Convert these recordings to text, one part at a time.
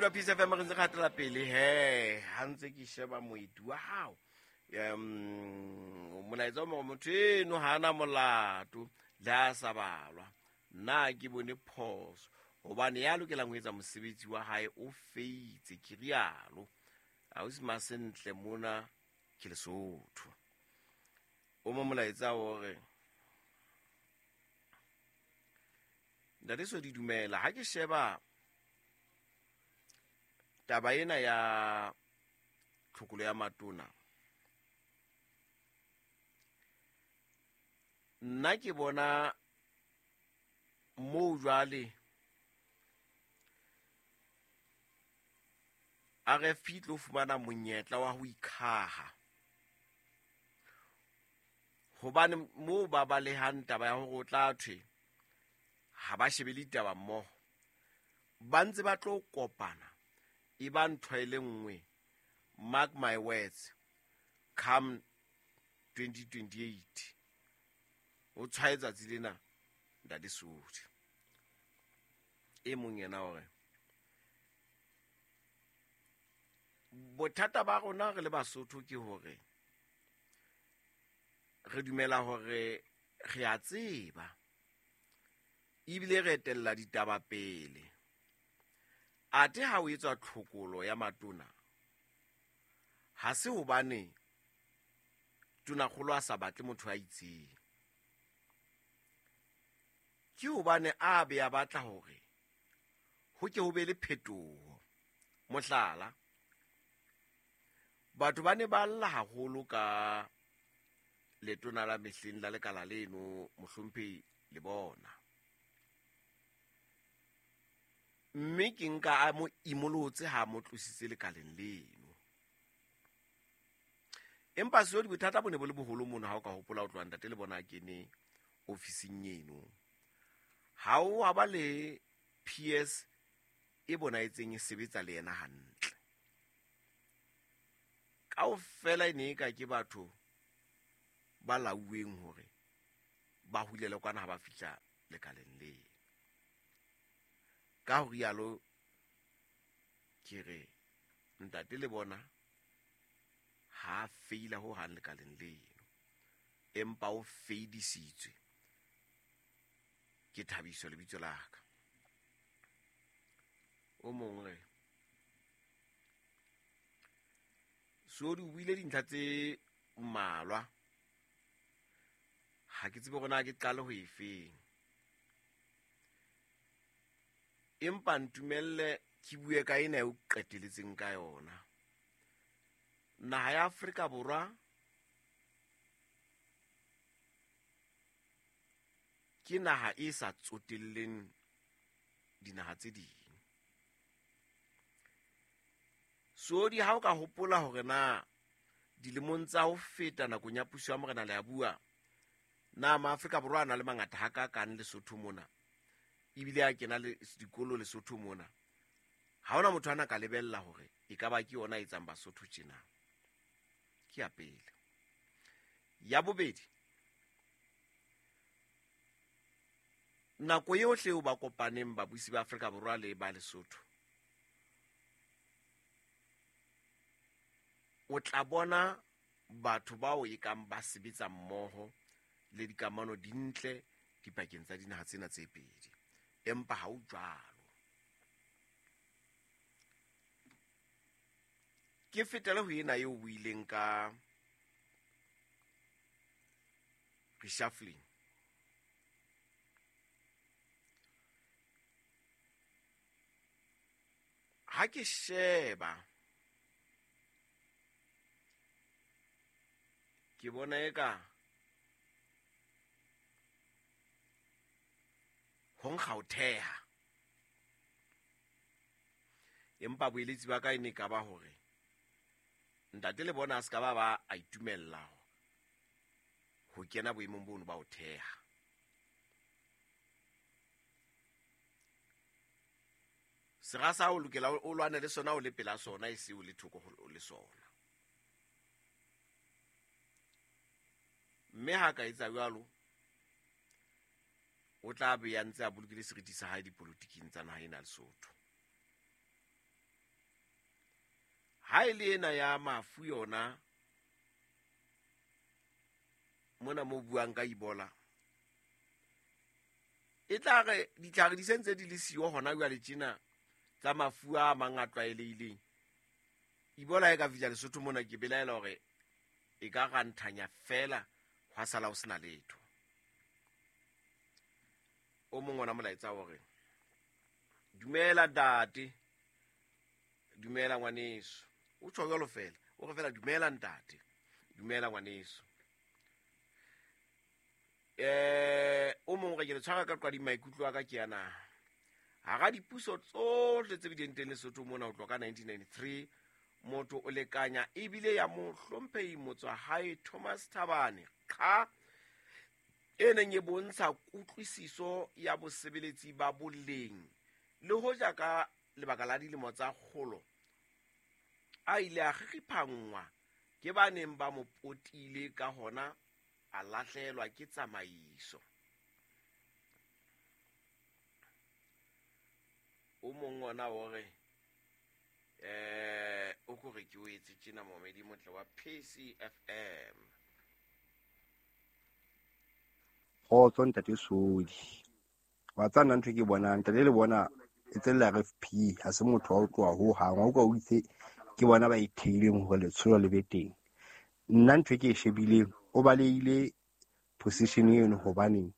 Utlwa Peace FM, re ntse re hatela pele he ha ntse ke sheba moeti wa hao. Molaetsa o mongwe, motho eno ha ana molato le a sa balwa. Nna ke bone phoso hobane ya lokelang ho etsa mosebetsi wa hae o feitse, ke rialo. Ausi Masentle mona ke Lesotho. O mo molaetsa o re, Ntate Sodi, dumela. Ha ke sheba taba ena ya tlhokolo ya matona, nna ke bona moo jwale RFP tlo fumana monyetla wa ho ikhaha, hobane moo ba balehang taba ya hore o tla thwe ha ba shebe le ditaba mmoho, ba ntse ba tlo kopana e ba ntho e le nngwe. Mark my words, come 2028 o tshwae tsatsi lena, Ntate Sodi. E mong yena hore bothata ba rona re le Basotho ke hore re dumela hore re a tseba ebile re etella ditaba pele, athe ha o etswa tlhokolo ya matona ha se hobane tonakgolo a sa batle motho a itseng, ke hobane a be a batla hore ho ke ho be le phetoho. Mohlala, batho ba ne ba lla haholo ka letona la mehleng la lekala leno, mohlomphehi le bona, mme ke nka a mo imolotse ha mo tlositse lekaleng leno. Empa Sodi, bothata bo ne bo le boholo mono. Ha o ka hopola, o tloha ntate le bona a kene ofising eno, ha o wa ba le PS e bonahetseng e sebetsa le yena hantle kaofela, e ne e ka ke batho ba lauweng hore ba hulele kwana ha ba fihla lekaleng leno. Ka ho rialo ke re ntate le bona ha feila ho hang lekaleng leno, empa o feidisitswe ke Thabiso lebitso la ka. O mong re, Sodi, o buile dintlha tse mmalwa, ha ke tsebe hore na ke qale ho efeng, empa ntumelle ke bue ka ena e o qeteletseng ka yona. Naha ya Afrika Borwa ke naha e sa tsotelleng dinaha tse ding. Sodi, ha o ka hopola hore na dilemong tsa ho feta nakong ya puso ya Morena Leabua, na Maafrika Borwa a na le mangata hakakang Lesotho mona, ebile a kena le dikolo Lesotho mona, ha hona motho a na ka lebella hore e ka ba ke yona e etsang Basotho tjena. Ke ya pele. Ya bobedi, nako yohle eo ba kopaneng babusi ba Afrika Borwa le ba Lesotho, o tla bona batho bao e kang ba sebetsa mmoho le dikamano di ntle dipakeng tsa dinaha tsena tse pedi, empa ha o jwalo. Ke fetele ho ena eo buileng ka reshuffling. Ha ke sheba ke bona eka ho nkga ho theha, empa boeletsi ba ka e ne ka ba hore ntate le bona a se ka ba ba a itumella ho kena boemong bono ba ho theha. Sera sa o lokela o lwane le sona o le pela sona, e se o le thoko le sona. Mme ha ka etsa jwalo, o tla be ya ntse a bolokile seriti sa hae dipolotiking tsa naha ena Lesotho. Ha e le ena ya mafu yona mona mo buang ka Ebola, e tla re ditlhare di sentse di le siyo hona jwale tjena tsa mafu a mang a tlwaelehileng. Ebola e ka fihla Lesotho mona, ke belaela hore e ka ranthanya fela hwa sala ho sena letho. O mong ona molaetsa hore dumela ntate, dumela ngwaneso, o tjho jwalo fela, o re fela dumela ntate, dumela ngwaneso. O mong re ke le tshwara ka qadi maikutlo a ka ke yana. Hara dipuso tsohle tse bileng teng Lesotho mona ho tloha ka 1993, motho o lekanya ebile ya mohlomphehi motswahae Thomas Thabane qha e neng e bontsha kutlwisiso ya bosebeletsi ba boleng, le hoja ka lebaka la dilemo tsa kgolo a ile a kgikgiphanngwa ke ba neng ba mo potile, ka hona a lahlehelwa ke tsamaiso. O mong ona o re o kore ke o etse tjena momedi motle wa PCFM. Kgotso ntate Sodi, wa tsana ntho ke bonang ntate le bona e tsella RFP ha se motho wa ho tloha ho hang, wa utlwa o itse ke bona ba itheileng hore letsholo le be teng. Nna ntho ke e shebileng, o balehile position eno hobaneng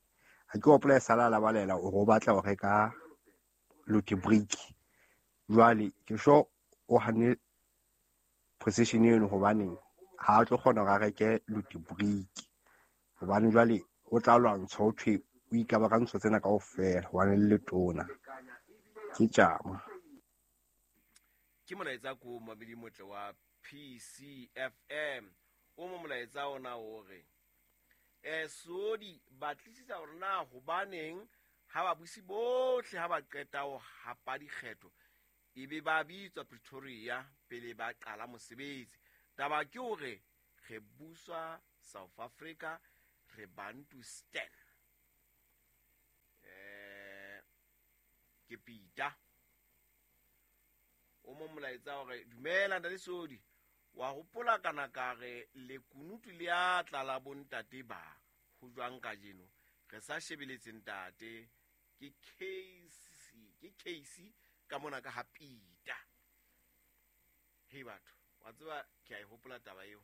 ha ke hopola e sala la balela hore o batla ho reka lote brick. Jwale ke sure o hanne position eno hobaneng ha a tlo kgona hore a reke lote brick, hobane jwale o tla lwantsha ho thwe o ikaba ka ntho tsena kaofela hobane le letona. Ke tjama. Ke molaetsa ko mamedi motle wa PCFM. O mo molaetsa ona o re Sodi batlisisa hore na hobaneng ha babusi bohle ha ba qeta ho hapa dikgetho ebe ba bitswa Pretoria pele ba qala mosebetsi. Taba ke hore re buswa South Africa, re Bantustan. Ke Peter. O mo molaetsa hore dumela ntate Sodi, wa hopola kana ka re lekunutu le a tlala bontate ba ho jwang kajeno re sa shebeletse ntate. Ke case ka mona ka ha Peter. Hei batho, wa tseba ke a e hopola taba eo.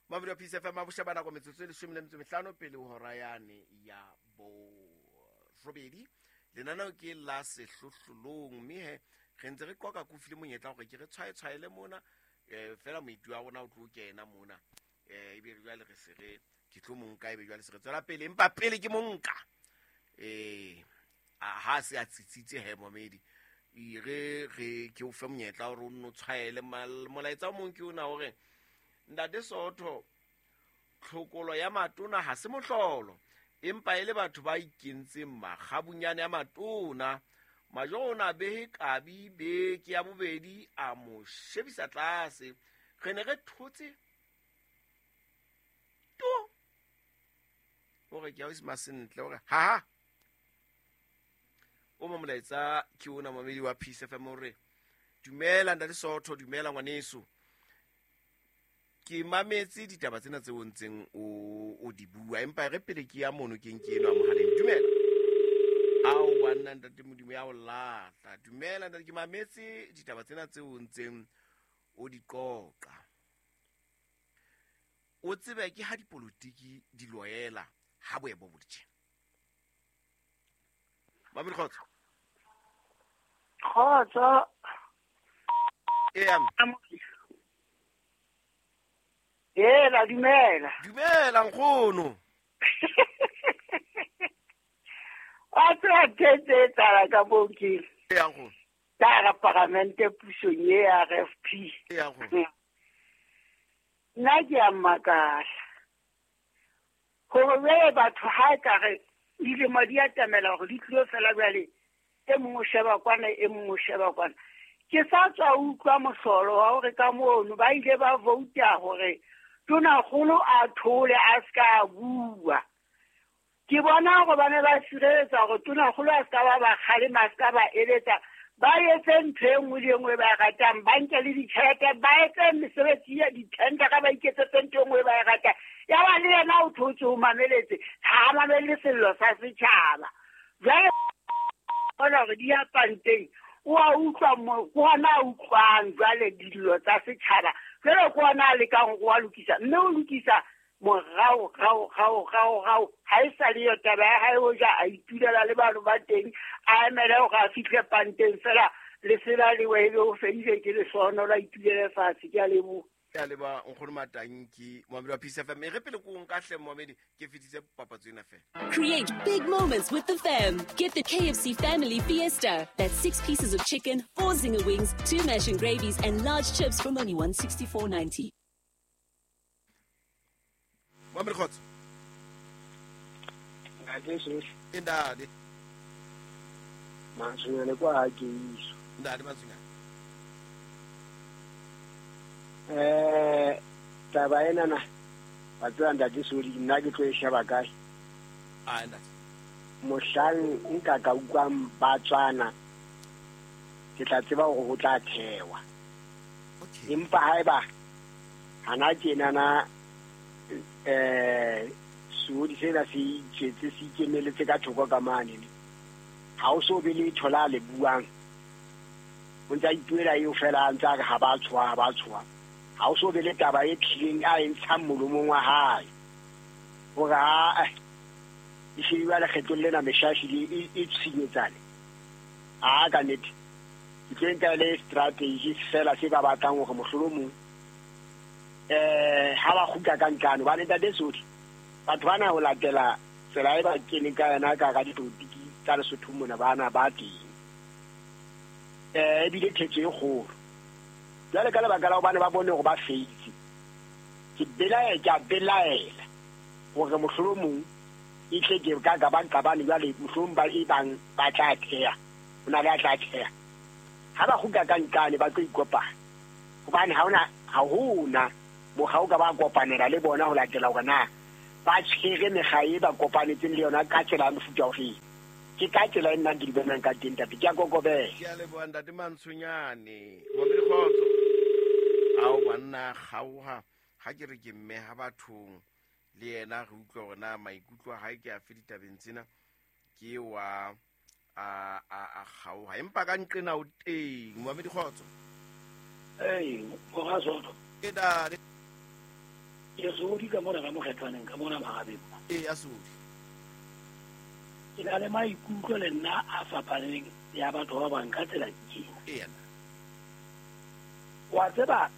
Mabidi wa PCFM a bosheba nako metsotso e 15 pele ho hora yane ya borobedi. Lenaneo ke la sehlohlolong, mme he re ntse re qoqa kofi le monyetla hore ke re tshwaetshwaele mona, fela moitu wa rona o tlo kena mona, ebe jwale re se re ke tlo monka, ebe jwale se re tswela pele, empa pele ke monka. Ha se a tsitsitse he momedi, re re ke o fe monyetla hore o nno tshwaele molaetsa o mong ke ona hore ntate Sootho, tlhokolo ya matona ha se mohlolo, empa e le batho ba ikentseng makgabunyane a matona. Majoro ona behe kabi beke ya bobedi a mo shebisa tlase. Re ne re thotse to hore ke a o masentle hore ha o mo molaetsa ke ona mamedi wa Peace FM hore dumela ntate Sootho, dumela ngwaneso. Ke mametse ditaba tsena tse o ntseng o di bua, empa re pele ke ya mono ke nke eno a mohaleng. Dumela. Ao banna ntate Modimo ya o lahla. Dumela ntate, ke mametse ditaba tsena tse o ntseng o di qoqa. O tsebe ke ha dipolotiki di loela ha boebo bo ditjhe. Mamedi kgotso. Kgotso. Eya. Ela dumela. Dumela nkgono. Wa tseba tse tsala ka moo ke. Eya nkgono. Ka paramente pusong ye ya RFP. Eya nkgono. Nna ke a makala hore jwale batho ha e ka re dilemo di atamela hore di tlilo fela jwale, e mong o sheba kwana, e mong o sheba kwana. Ke sa tswa utlwa mohlolo wa hore ka mono ba ile ba vouta hore tonakgolo a thole a ska a bua. Ke bona hore ba ne ba sireletsa hore tonakgolo a ska ba ba kgalema, a ska ba eletsa. Ba etse ntho e nngwe le e nngwe ba e ratang, ba nke le ditjhelete, ba etse mesebetsi ya dithendera, ba iketsetse ntho e nngwe ba e ratang. Ya ba le yena o thotse o mameletse, ha a mamelle sello sa setjhaba. Jwale bona hore di ya panteng, o a utlwa mo, ke hona a utlwang jwale dillo tsa setjhaba. Jwale ke hona a lekang hore wa lokisa, mme o lokisa morao, rao, rao, rao, rao. Ha e sa le yo taba ya hae ho ja, a itulela le batho ba teng, a emele hore a fihle panteng fela, lesela le we ebe o fedile ke lesono la itulele fatshe. Ke a leboha. Ke a leboha nkgono Matanki, moamedi wa Peace FM. E re pele ko nka hle moamedi, ke fetise papatso ena fela. Create big moments with the fam. Get the KFC Family Fiesta. That's 6 pieces of chicken, 4 zinger wings, 2 mash and gravies, and large chips from only $164.90. Moamedi Kgotso. Ntate Sohle. E ntate. Mantswenyane kwa ha ke iso. Ntate Mantswenyane. Taba ena na, wa tseba ntate Sodi, nna ke tlo e sheba kae? Ah, ntate. Mohlang nka ka utlwang ba tswana, ke tla tseba hore ho tla thewa. Okay. Empa haeba hana tjenana, Sodi sena se itswetse, se ikemeletse ka thoko ka mane. Ha o so be le thola le buang. O ntsa ipuela eo fela a ntsa re ha ba tshoha, ha ba tshoha. Ha o so be le taba e tlileng a e ntshang molomong wa hae. Hore ha, e shebile lekgetlong lena meshashi e tshinyetsane. A ka nnete. Ke tlo nka le strategy fela se ba batlang hore mohlolomong, ha ba kgutla ka ntlano, ba ntate Sodi. Batho bana ho latela tsela e ba keneng ka yona ka hara dipolotiki tsa Lesotho mona, bana ba teng. Ebile thetso e kgolo. Jwale ka lebaka la hobane ba bone hore ba feitse, ke a belaela hore mohlolomong e tle ke ka ka ba nqabane jwale mohlolomong ba e bang ba tla theha. Ho na le a tla theha. Ha ba kgutla ka ntlane ba tlo ikopanya. Hobane ha hona mokgwa o ka ba kopanela le bona ho latela hore na ba tshwere mekga e ba kopanetseng le yona ka tsela ya mofuta ofe. Ke ka tsela e nna ke di bonang ka teng, ntate. Ke a kokobela. Ke a leboha, ntate Mantshonyane. Moamedi Kgotso. Ao, banna, kgaoha. Ha ke re ke mme ha bathong le yena re utlwa hore na maikutlo a hae ke afe ditabeng tsena, ke wa a kgaoha. Empa ka nqena o teng. Moamedi Kgotso. Ei, mora Soto. Ke ntate. Ke Sodi ka mona ka mokgethwaneng, ka mona Marabeng. Ee, ya Sodi. Ke na le maikutlo le nna a fapaneng ya batho ba bang ka tsela ke ena. Ee, nna. Wa tseba,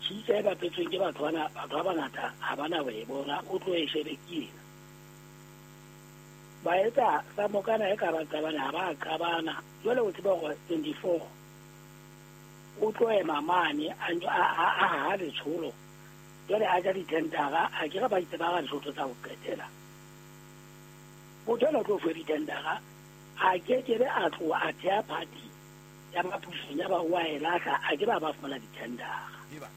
tjhitja e bapetsweng ke batho bana, batho ba bangata ha ba na ho e bona, o tlo e shebe ke ena. Ba etsa sa mokana e ka ba qabana, ha ba qabana. Jwale o tseba hore 24 o tlo ema mane, a ntse a haha letsholo. Jwale a ja dithendara, a ke re ba itse ba ga dithoto tsa ho qetela. Motho enwa o tlo fuwa dithendara, a ke ke be a tloha a theha party ya ba pusong, ya ba wa e lahla, a ke ba ba fumana dithendara. Eba.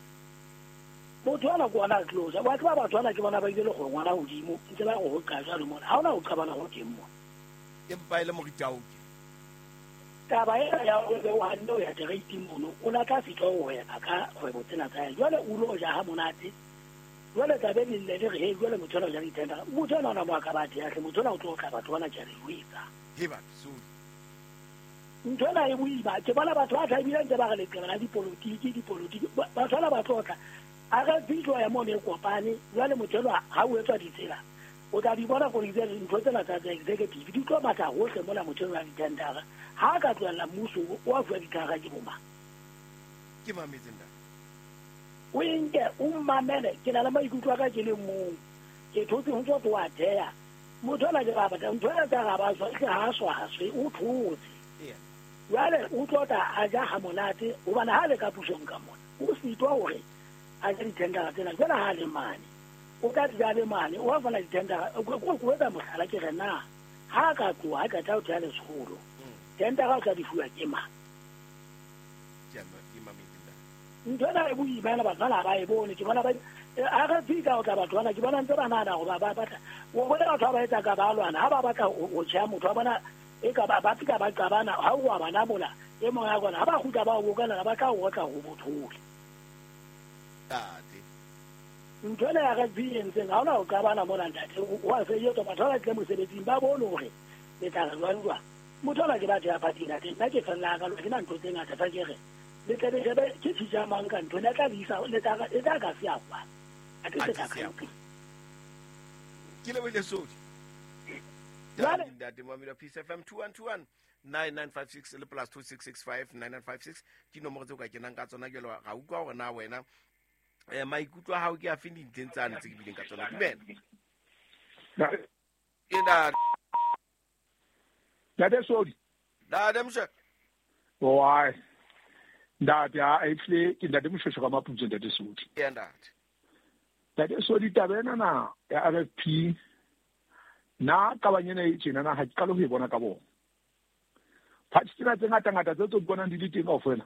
Motho enwa ke ona a tlo ja. Wa tseba batho bana ke bona ba ile le go ngwana hodimo, ntse ba re ho qa jwalo mona. Ha hona ho qabana ho teng mona. Empa e le moritaoke. Taba ena ya hore o hanne ho ya tereiting mono, o la tla fihla ho hweba ka kgwebo tsena tsa hae. Jwale o lo ja ha monate. Jwale tlabe le lle le re, hei, jwale motho enwa o ja dithendara. Motho enwa ona mo a ka ba theha hle, motho enwa o tlo tla batho bana ke a le jwetsa. He batho, sorry. Ntho ena e boima. Ke bona batho ba tla ebile ntse ba re leqeba la dipolotiki, dipolotiki. Batho bana ba tlo tla. A re bitso ya mono e kopane, jwale motho enwa ha o etswa ditsela, o tla di bona gore ntho tsena tsa executive di tlo matla hohle mona motho enwa wa dithendara. Ha a ka tlohella mmuso o a fuwa dithendara ke bo mang? Ke mametse ntate. O e nke, o mmamele. Ke na le maikutlo a ka ke le mong. Ke thotse ho ntso ho a theha. Motho enwa ke ba batla, ntho ena tsa ga ba swa, hle ha a swaswe, o thotse. Jwale o tlo tla a ja ha monate, hobane ha le ka pusong ka mona, o sitwa hore a je dithendara tsena. Jwale ha le mane, o tla di ja le mane, o a fana dithendara. Ko etsa mohlala ke re na, ha ka tloha, ha qeta ho theha letsholo, thendara o tla di fuwa ke mang? Ke a ke mametse ntate. Ntho ena e boima ena, batho bana ha ba e bone. Ke bona ba, ha re fihla ho tla batho bana, ke bona ntse ba nahana hore ba batla. O bone batho ba ba etsa ka ba lwana, ha ba batla ho tjheha motho, wa bona E ka ba ba fika ba qabana ha o wa bana mola e mong ya kona ha ba kgutla ba o bokana ba tla o otla ho bothole. Ntate. Ntho ena ya rugby e entseng ha ona ho qabana mona ntate wa se etsa batho ba tle mosebetsing ba bone hore le tla re jwang jwang. Motho ona ke batho ya party ntate nna ke fella ka ke na ntho tse ngata fa ke re le tle le shebe ke tshija mang ka ntho ena tla le isa le tla e tla ka se ya kwa. A ke se ka ka. Ke lebohile Sodi. Ntate Mamela Peace FM 2121 9956 le plus 2665 9956 ke nomoro tseo ka kenang ka tsona jalo ga utlwa hore na wena maikutlo a hao ke a feng dintlheng tsane tse ke bileng ka tsona. Dumela. Ke ntate. Ntate Sodi. Ntate Moshe. Why? Ntate a etle ke ntate Moshe ka Maputso ntate Sodi. Ke ntate. Ntate Sodi taba ena na ya RFP na kabanyena e tjena na ha ke qale ho e bona ka bona. Party tsena tse ngata-ngata tse tso di bonang di le teng kaofela.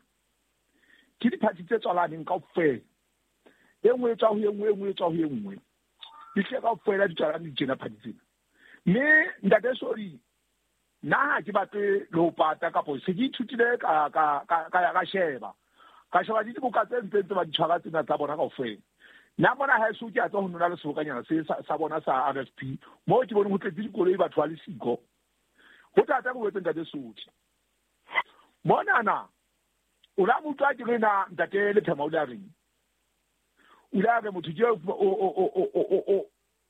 Ke di-party tse tswalaneng kaofela. E nngwe e tswa ho e nngwe, e nngwe e tswa ho e nngwe. Di tle kaofela di tswalane di tjena party tsena. Mme ntate Sodi nna ha ke batle le ho pata kapo se ke ithutile ka sheba. Ka sheba di dibuka tse ntseng tse ba di tshwara tsena tsa bona kaofela. Nna mona ha eso ke a tswa ho nona le sebokanyana se sa bona sa RFP moo ke bone ho tletse dikoloi batho ba le siko. Ho thata go etse ntate Sodi. Monana o la motho a ke re na ntate Lethema o le a reng. O le a re motho ke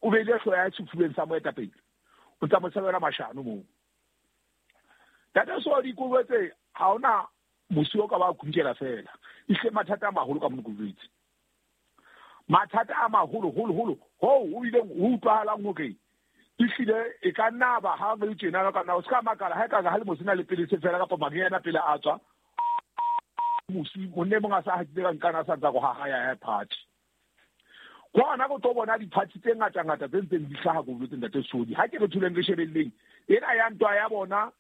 o beile hlooho ya sefubeng sa moetapele. O tsa mo sebela mashano moo. Ntate Sodi ko jwetse ha ona mosi o ka ba kunkela fela. Ehlile mathata a maholo ka mono ko jwetse. Mathata a maholo holo holo ho o ileng ho utlwahalang hore ehlile e ka nna ba ha re tjena ka nna o ska makala ha e ka ha le mosina le pele se fela kapa mariana pele a tswa mosi monne mong a sa hatile ka nkana sa ntsa go haha ya party. Kwana go tlo bona di-party tse ngata-ngata tse ntseng di hlaha ko boletse ntate Sodi. Ha ke re thuleng re shebelleng ena ya ntwa ya bona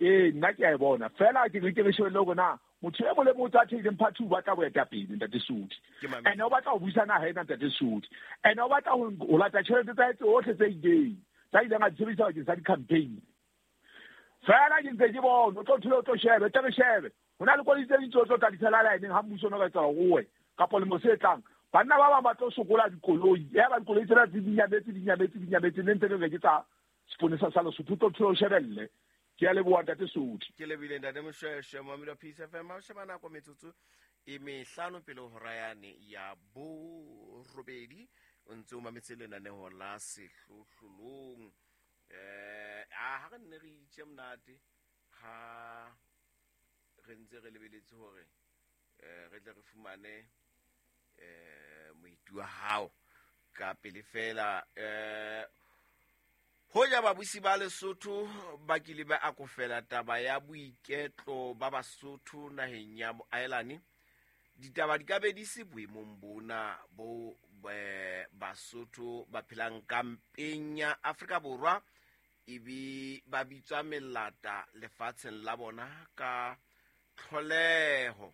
nna ke a e bona fela ke re ke re shebelle hore na motho e mong le motho a theileng party o batla boetapele ntate Sodi. Ene o batla ho buisa naha ena ntate Sodi. Ene o batla ho lata tjhelete tsa hae tsohle tse ileng tsa ileng a di sebedisa bakeng sa di-campaign. Fela ke ntse ke bona o tlo thole o tlo shebe tle re shebe. Ho na le koloi tse ding tse o tlo tla di tshela line-eng ha mmuso o no ka etsa hore owe kapa lemo se tlang. Banna ba bang ba tlo sokola dikoloi. Ya ba dikoloi tsena tse di nyametse ne ntse re re ke tsa seponesa sa Lesotho tlo thole o shebelle. Ke a leboha ntate Sodi. Ke lebile ntate Moshweshwe Mamela Peace FM. Ha o sheba nako metsotso e mehlano pele ho hora yane ya borobedi o ntse o mametse lenaneho la Sehlohlolong. Ha re nne re itje monate ha re ntse re lebeletse hore re tle re fumane moeti wa hao ka pele fela. Hoja babusi ba Lesotho ba kile ba akofela taba ya boiketlo ba Basotho naheng ya Ireland, ditaba di ka be di se boemong bona bo Basotho ba phelang kampeng ya Afrika Borwa ebe ba bitswa melata lefatsheng la bona ka tlholeho.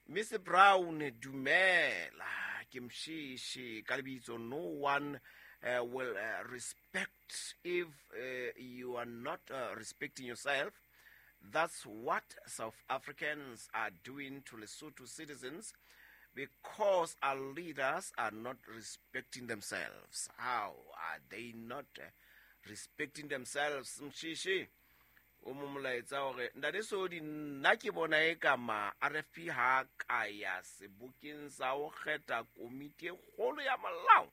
Miss Brown dumela ke Mshishi ka lebitso. No one will respect if you are not respecting yourself. That's what South Africans are doing to Lesotho citizens because our leaders are not respecting themselves. How are they not respecting themselves? Mshishi o mo molaetsa hore ntate Sodi nna ke bona e ka ma RFP ha ka ya sebokeng sa ho kgetha komiti e kgolo ya molao.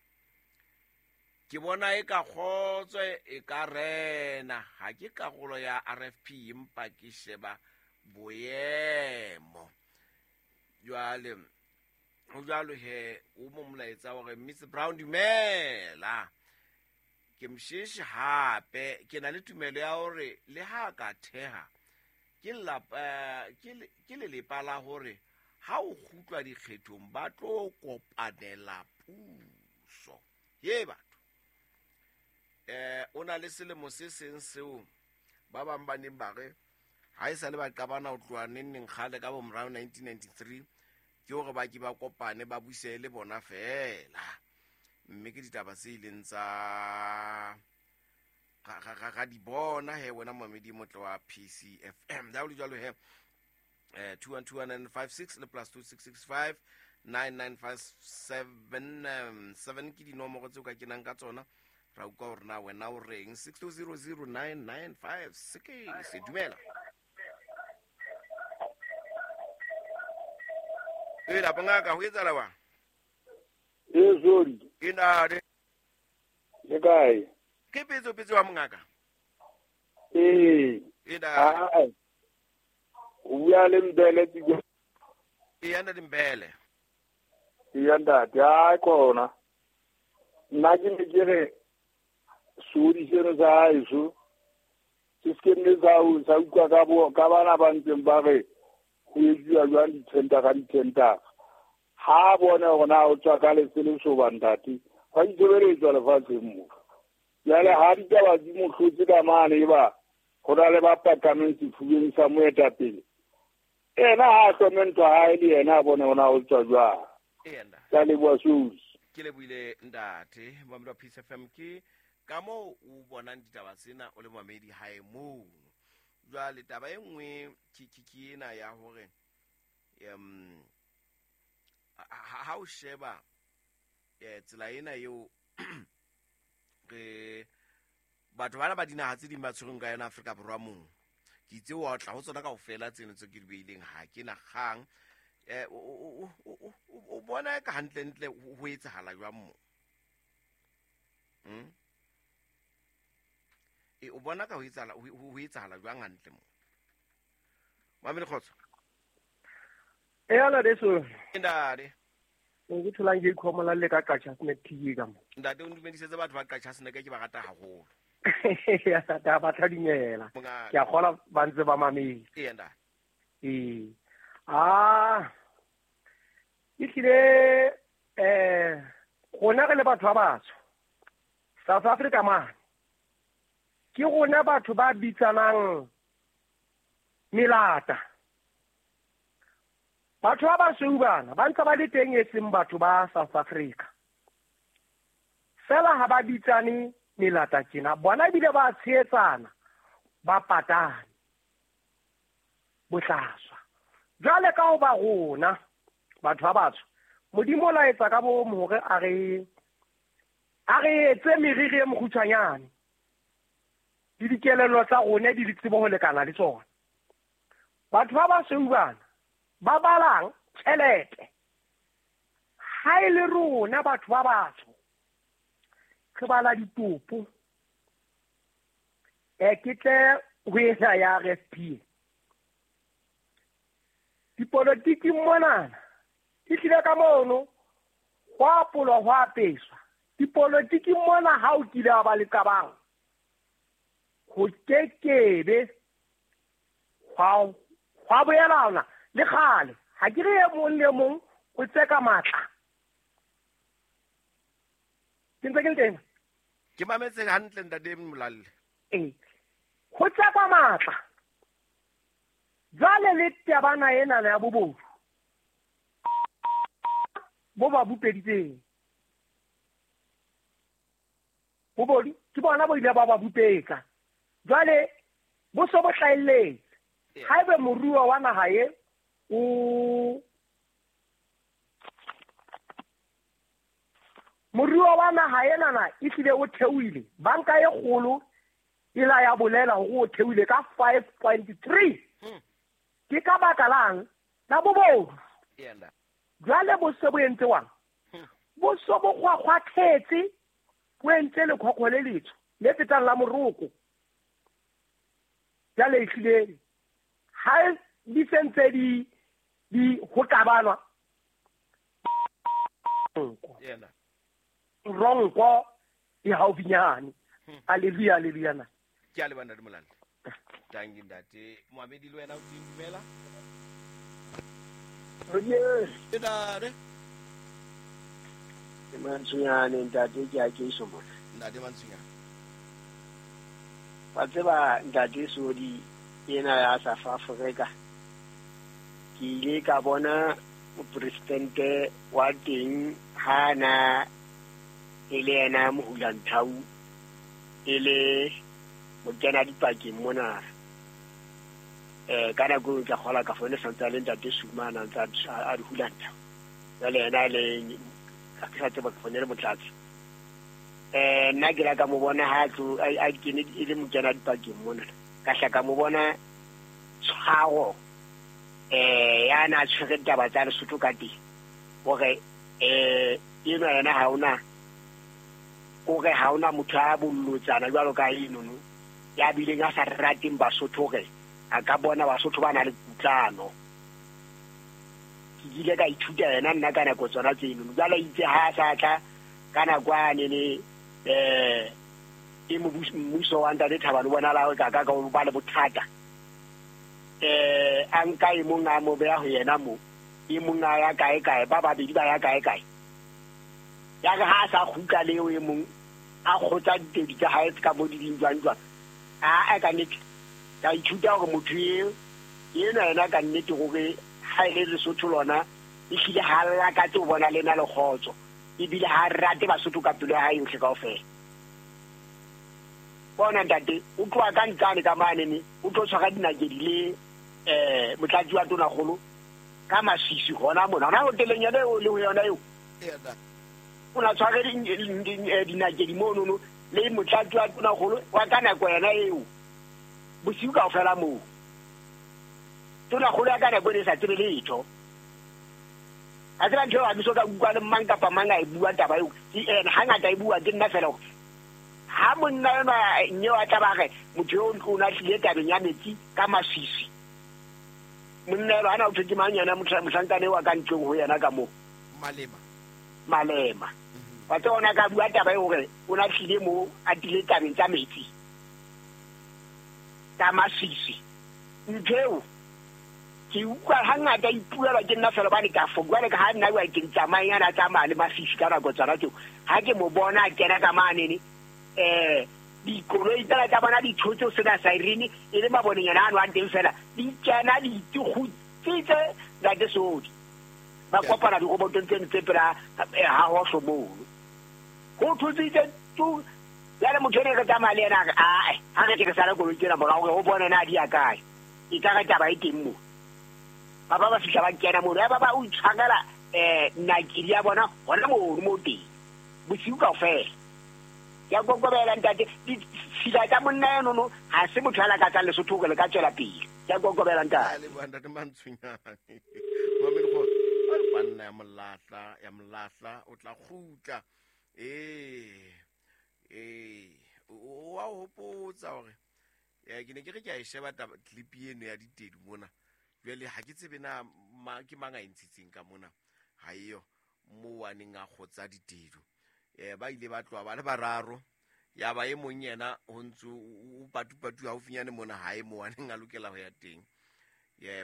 Ke bona e ka kgotso e ka rena. Ha ke karolo ya RFP empa ke sheba boemo. Jwale ho jwalo he o mo molaetsa hore Miss Brown dumela. Ke Mshishi hape ke na le tumelo ya hore le ha ka theha ke ke lelepa la hore ha o kgutlwa dikgethong ba tlo kopanela puso. Ye batho o na le selemo se seng seo ba bang ba neng ba re ha e sa le ba qabana ho tloha neng neng kgale ka bo morao 1993 ke hore ba ke ba kopane ba buse le bona fela. Mme ke ditaba tse ileng tsa Ra di bona he wena momedi motle wa PCFM. Da o le jwalo he 212956 le +2665 9957 7 ke dinomoro tseo ka kenang ka tsona. Ra utlwa hore na wena o reng. 6200995 se dumela. E la bongaka ho etsahala wa? E sorry. Ke nade. Le kae? Ke petso wa mongaka. Ee. E da. O bua le Mbele tiko. E anda le Mbele. E anda ya kona. Nna ke ne ke re sodi seno sa haeso se se nne sa utlwa ka bo ka bana ba ntseng ba re ho etsuwa jwang dithendara dithendara. Ha bona hore na o tswa ka letsele soba ntate ga itshebeletswa lefatsheng mo. Jwale ha ditaba di mo hlotse ka mane eba ho na le ba pakameng sefubeng sa moetapele. Ena ha hlome ntwa hae le yena a bone hore na o tswa jwang. Ka leboha Sodi. Ke lebohile ntate momedi wa Peace FM. Ke ka moo o bonang ditaba tsena o le momedi hae moo. Jwale taba e nngwe ke ena ya hore ha o sheba tsela ena eo re batho bana ba dinaha tse ding ba tshwereng ka yona Afrika Borwa mong. Ke itse wa tla ho tsona kaofela tseno tse ke di beileng ha ke na kgang. O bona ka hantlentle ho etsahala jwang mo? O bona ka ho etsahala jwang hantle mo? Mamele kgotso. E ala deso. Ndade. O ke tholang ke ikhomola le ka Qacha Snack TV ka mo. Ntate o ntumedisetse batho ba Qacha Snack ke ba rata haholo. Ya ta ba tla dumela. Ke a kgola ba ntse ba mametse. Ee ntate. Ee. Ah. Ehlile rona re le batho ba batsho. South Africa mane. Ke rona batho ba bitsanang melata. Batho ba basweu bana ba ntse ba le teng e seng batho ba South Africa. Fela ha ba bitsane melata tjena, bona ebile ba tshehetsana, ba patane bohlaswa. Jwale ka ho ba rona batho ba batsho, Modimo o laetsa ka bomo hore a re etse meriri e mokgutshwanyane le dikelello tsa rona di le tsebo ho lekana le tsona. Batho ba basweu bana ba balang tjhelete. Ha e le rona batho ba batsho re bala ditopo. Ke tle ho ena ya RFP. Dipolotiki monana e tlile ka mono ho apolwa ho apeswa. Dipolotiki mona ha o kile wa ba le qabang ho kekebe hwa boelana le kgale. Ha ke re e mong le mong o tseka matla. Ke ntse ke le teng. Ke mametse hantle ntate Molalle. Ee. Ho tseka matla. Jwale le tabana ena ya bobodu bo ba bupeditseng. Bobodu ke bona bo ile ba ba bupetsa. Jwale bo so bo hlahelletse. Haebe moruo wa naha e o moruo wa naha enana e hlile o theohile. Banka e kgolo e la ya bolela hore o theohile ka 5.3. Ke ka baka lang la bobodu. Jwale bo se bo entse wang? Bo so bo kgwakgwathetse, bo entse lekgwakgwa le letsho le fetang la moroko. Jwale ehlile ha di sentse di ho qabanwa ronko e haufinyane. Haleluya, haleluya na. Ke a leboha ntate Molalle. Tanki ntate Mohamedi le wena o teng dumela. Ntate. Ke Mantsonyane ntate ke a ke so mona. Ntate Mantsonyane. Wa tseba ntate Sodi ena ya South Africa. Ke ile ka bona mopresidente wa teng ha na e le yena Mohulanthau e le Mokena dipakeng mona. Ka nako ke kgola ka fone santse le ntate Sumana ntse a di hulanta. Jwale yena le ka sa tseba ke fone le motlatsi. Nna ke la ka mo bona ha tlo a kene e le mokena dipakeng mona. Ka hla ka mo bona tshwaro ya na tshwere taba tsa Lesotho ka teng. Hore eno yena ha ona hore ha ona motho a bollotsana jwalo ka eno no ya bileng a sa rateng Basotho hore a ka bona Basotho ba na le kutlano. Ke ile ka ithuta yena nna ka nako tsona tseno. Jwale itse ha sa tla ka nako a nene e mmuso wa ntate Thabane bona la ka ka ba le bothata. A nka e mong a mo beha ho yena mo. E mong a ya kae kae ba babedi ba ya kae kae. Ya re ha sa kgutla leo e mong a kgotsa ditedi tsa hae ka mo di ding jwang jwang. A ka nnete ka ithuta hore motho ena yena ka nnete hore ha e le Lesotho lona e hlile ha lakatse ho bona lena le kgotso ebile ha rate Basotho ka pelo ya hae yohle kaofela. Bona ntate o tloha ka ntsane ka mane ne o tlo tshwara dinakedi le motlatsi wa tonakgolo ka masisi hona mona hona hoteleng yona eo le ho yona eo. O na tshware dinakedi monono le motlatsi wa tonakgolo wa ka nako yona eo bosiu kaofela moo. Tonakgolo ya ka nako e sa tsebe letho. A tseba ntho eo ha ke so ka utlwa le mang kapa mang a e bua taba eo. Ke ena hangata e bua ke nna fela hore ha monna enwa nyeo a tla ba re motho eo o na tlile tabeng ya metsi ka masisi. Monna eno hana o thwe ke mang yena mohlankane wa ka ntlong ho yena ka moo. Malema. Wa tseba ona ka bua taba eo hore o na tlile moo a tlile tabeng tsa metsi ka masisi. Ntho eo ke utlwa hangata ipuela ke nna fela bane ka fo jwale ka ha nna wa ke tsamaya na tsamaya le masisi ka nako tsona tseo. Ha ke mo bona a kena ka mane ne dikoloi tsela tsa bona di thotse ho sena siren e le maboneng ano a teng fela di kena di tigutsitse ntate Sodi. Ba kopana dirobotong tseno tse pela ha hohlo mono. Ho thotsitse tu jwale motho ene re tsamaya le yena a re ae ha re ke re sala koloi tsena morao hore o bone na di ya kae. E ka re taba e teng moo. Ba ba fihla ba kena mono ya ba ba o itshwarela nakedi ya bona hona mono mo teng bosiu kaofela. Ya kokobela ntate ditshila tsa monna eno no ha se motho a lakatsang Lesotho hore le ka tswela pele. Ya kokobela ntate. Le bua ntate Mantshonyane. Mamedi go banna ya molahla o tla kgutla. O wa hopotsa hore ke ne ke re ke a e sheba taba clip eno ya ditedu mona. Jwale ha ke tsebe na ke mang a e ntshitseng ka mona. Ha eyo mo a neng a kgotsa ditedu. Ba ile ba tloha ba le bararo ya ba e mong yena ho ntse o patupatu haufinyane mona hae mo a neng a lokela ho ya teng.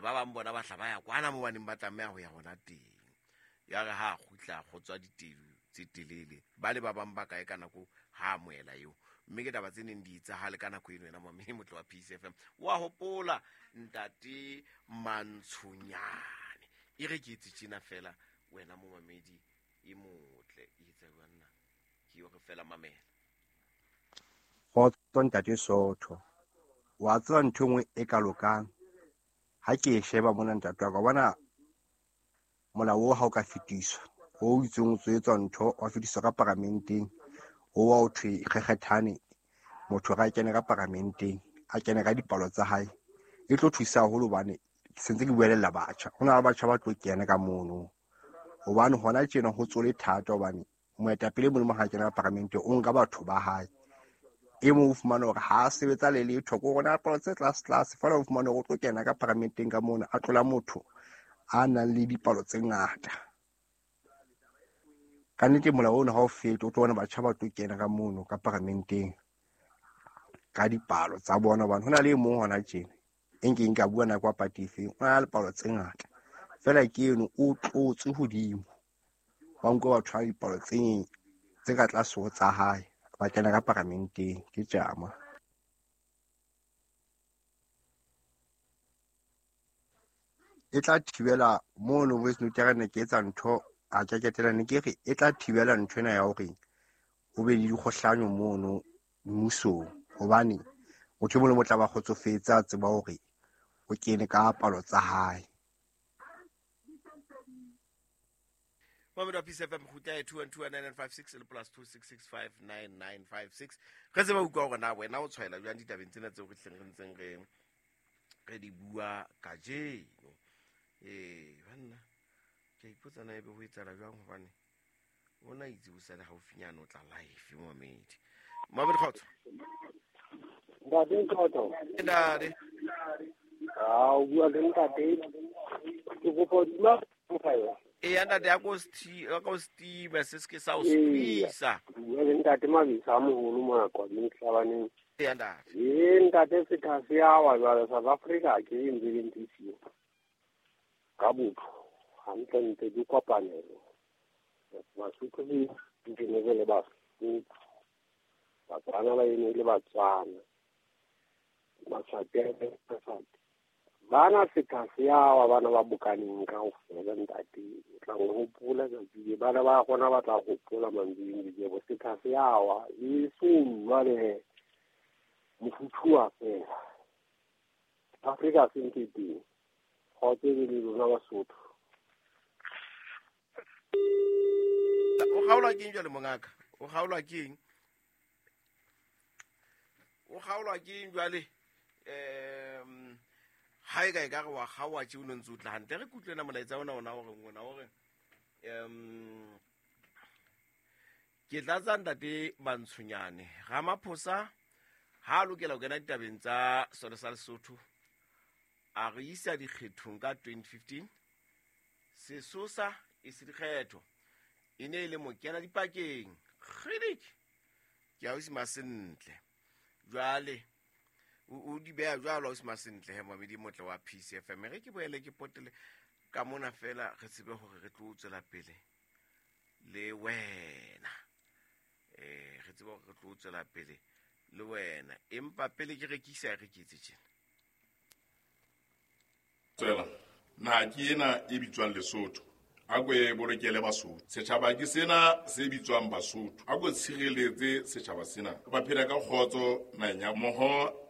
Ba bang bona ba hla ba ya kwana mo baneng ba tlameha ho ya hona teng. Ya re ha kgutla kgotswa ditedu tse telele ba le ba bang ba kae ka nako ha amohela eo. Mme ke taba tse neng di etsahale ka nako eno yena mamedi motlo wa Peace FM. Wa hopola ntate Mantshonyane. E re ke etse tjena fela wena mo mamedi e motle e etsa jwanna ke yo re fela mamela. Kgotso ntate Sotho. Wa tseba ntho e nngwe e ka lokang ha ke e sheba mona ntate wa ka bona molao o ha o ka fetiswa o itseng o tswetswa ntho wa fetiswa ka paramenteng o wa o thwe kgekgethane motho ga a kene ka paramenteng a kene ka dipalo tsa hae e tlo thusa haholo hobane ke sentse ke buelella batjha. Ho na le batjha ba tlo kena ka mono hobane hona tjena ho tsole thata hobane moetapele Modimo ha kena ka paramenteng o nka batho ba hae. E mong o fumana hore ha a sebetsa le letho ko rona palo tse tlase tlase fela o fumana hore o tlo kena ka paramenteng ka mona a tlola motho a nang le dipalo tse ngata. Ka nnete molao ona ha o fete o tlo bona batjha ba tlo kena ka mono ka paramenteng ka dipalo tsa bona hobane ho na le e mong hona tjena e nkeng ka bua nako ya party efeng o na le palo tse ngata fela ke eno o tlotse hodimo ba nka batho ba dipalo tse ka tlase ho tsa hae ba kena ka paramenteng ke tjama. E tla thibela mono voice note ya ne ke etsa ntho a ke ketela ne ke re e tla thibela ntho ena ya hore ho be le dikgohlanyo mono mmusong hobane Motho e mong le mong tla ba kgotsofetse, a tseba hore o kene ka palo tsa hae. Mamedi wa Peace FM, kgutla ya 2129956 le plus 2665956. Re tseba utlwa hore na wena o tshwaela jwang ditabeng tsena tseo re hleng re ntseng re di bua kajeno. Ee, banna, ke a ipotsa na ebe ho etsahala jwang, hobane ona itse o sale haufinyane o tla live, momamedi. Mamedi, kgotso. Ntate Kgotso. Ntate. Ah, o bua le ntate. Ke kopa dula mofela. Ee, ntate, ya ko steam se se ke sa o squeeze. Bua le ntate Mabisa a moholo mona Qwabing Hlabaneng. Ee, ntate. Ee, ntate, setha se a wa jwale South Africa ke e ntse le ntse siyo. Ka botho, hantlentle di kopanelo. Basotho le dinebe le Basotho. Batswana ba eme le Batswana. Maswati a eme le Maswati. Bana setha se a wa bana ba bokaneng kaofela, ntate. O tla hopola tsatsi le bana ba rona ba tla hopola mantswe le bo setha se a wa e so jwale mofuthu wa fela. Afrika se ntse teng. Kgotso e le lona Basotho. O kgaolwa keng jwale mongaka? O kgaolwa keng? O kgaolwa keng jwale? Ha e ka e ka re wa kgaoha tje o no ntse o tla hantle. Re kutlwe na molaetsa ona ona o reng ona o re, ke tlatsa ntate Mantshonyane. Ramaphosa ha a lokela ho kena ditabeng tsa sona sa Lesotho, a re isa dikgethong ka 2015. Sesosa e se dikgetho, e ne e le mokena dipakeng. Kgidiki, ke ausi Masentle. Jwale o di beha jwalo ausi Masentle he, mamedi motle wa Peace FM. Re ke boele ke potele ka mona fela, re tsebe hore re tlo tswela pele le wena. Re tsebe hore re tlo tswela pele le wena, empa pele ke rekisa, re ke etse tjena. Tswela naha ke ena e bitswang Lesotho, a ko e bolokele Basotho. Setjhaba ke sena se bitswang Basotho, a ko tshireletse setjhaba sena, ba phela ka kgotso naheng ya mmoho.